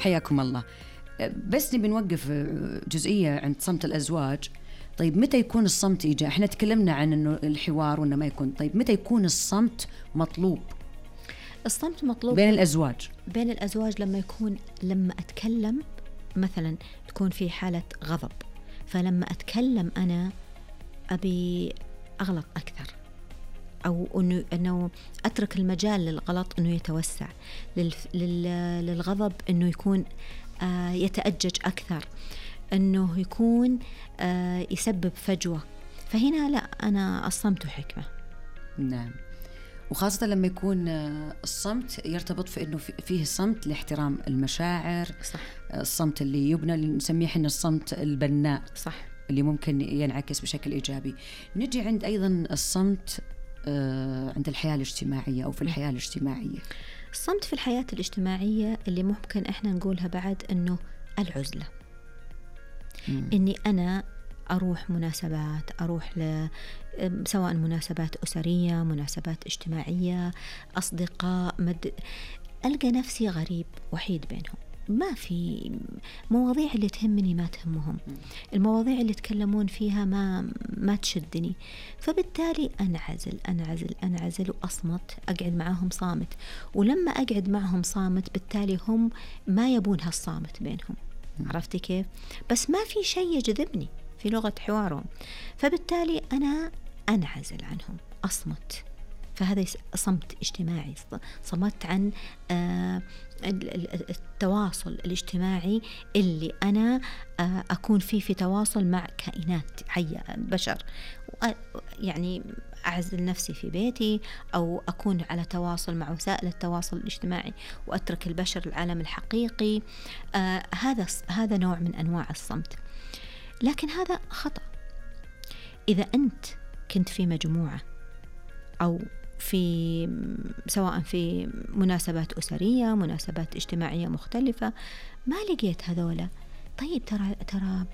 حياكم الله. بس نبي نوقف جزئية عند صمت الأزواج. طيب متى يكون الصمت إيجابي؟ إحنا تكلمنا عن إنه الحوار وإنه ما يكون. طيب متى يكون الصمت مطلوب؟ الصمت مطلوب بين الأزواج. بين الأزواج لما أتكلم مثلا تكون في حالة غضب، فلما أتكلم أنا أبي أغلط أكثر، أو أنه أترك المجال للغلط أنه يتوسع، للغضب أنه يكون يتأجج أكثر، أنه يكون يسبب فجوة. فهنا لا، أنا الصمت حكمة. نعم، وخاصة لما يكون الصمت يرتبط في أنه فيه صمت لاحترام المشاعر. صح. الصمت اللي يبنى، اللي نسميه إحنا الصمت البناء. صح. اللي ممكن ينعكس بشكل إيجابي. نجي عند أيضا الصمت عند الحياة الاجتماعية أو في الحياة الاجتماعية. الصمت في الحياة الاجتماعية اللي ممكن إحنا نقولها بعد أنه العزلة. إني أنا أروح مناسبات، أروح سواء مناسبات أسرية، مناسبات اجتماعية، أصدقاء، ألقى نفسي غريب وحيد بينهم. ما في مواضيع اللي تهمني ما تهمهم، المواضيع اللي يتكلمون فيها ما تشدني، فبالتالي أنعزل وأصمت، أقعد معهم صامت. ولما أقعد معهم صامت بالتالي هم ما يبون هالصامت بينهم. عرفتي كيف؟ بس ما في شيء يجذبني في لغة حوارهم، فبالتالي أنا أنعزل عنهم، أصمت. فهذا صمت اجتماعي، صمت عن التواصل الاجتماعي اللي أنا أكون في تواصل مع كائنات حية، بشر. يعني أعزل نفسي في بيتي، أو أكون على تواصل مع وسائل التواصل الاجتماعي وأترك البشر العالم الحقيقي. هذا نوع من أنواع الصمت، لكن هذا خطأ. إذا أنت كنت في مجموعة أو سواء في مناسبات أسرية، مناسبات اجتماعية مختلفة، ما لقيت هذولا، طيب ترى